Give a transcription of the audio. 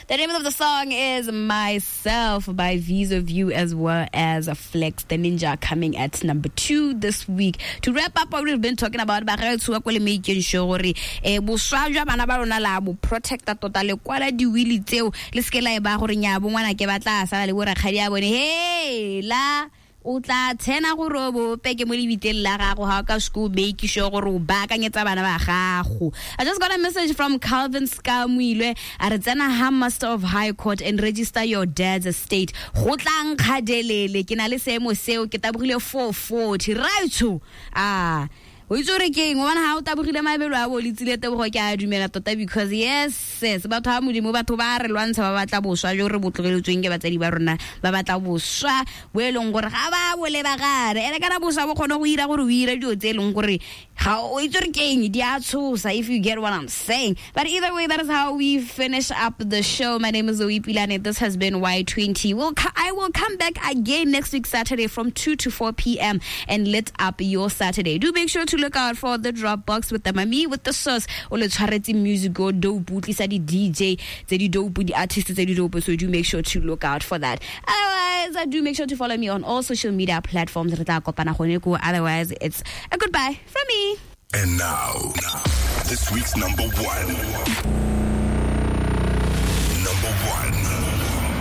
The name of the song is Myself by Visa View as well as Flex the Ninja, coming at number 2 this week. To wrap up what we've been talking about, ba ga tshuwa ko le making sure gore boswa jwa bana ba rona la bo protecta tota, le kwala diwili tseo, le seke la e ba gore nya bo ngwana ke batla sala le bo rakgadi a bone. Hey la o tla tshena gore o bope ke mo lebiteng la gago ga o ka seke o make sure gore o baakanyetsa bana ba gago. I just got a message from Calvin Skamuilwe, a re tsena ha Master of High Court and register your dad's estate. Go tla nkgadelele, ke na le seemo seo, ke tabogile 440 raitsho. A o itse gore ke eng, o bona ga o tabogile mabelo a bo letsile tebogo, ke a dumela tota, because yes, batho ba Modimo, batho ba re lwantsha, ba batla boswa jo re bo tlogeletsweng ke batsadi ba rona, ba batla boswa bo e leng gore ga ba bo lebagane. Ene kana boswa bo kgone go ira gore o ira dilo tse e leng gore ga o itse gore ke eng, di a tshosa, if you get what I'm saying. But either way, that is how we finish up the show. My name is Zoe Pilane. This has been Y20. I will come back again next week Saturday from 2 to 4 p.m. and lit up your Saturday. Do make sure to look out for the Dropbox with the mami with the sauce. O le tshwaretse music o dope, o tlisa di DJ tse di dope, di artists tse di dope, so do make sure to look out for that. Otherwise, do make sure to follow me on all social media platforms. Re tla kopana gone ko. Otherwise, it's a goodbye from me. And now, this week's number 1.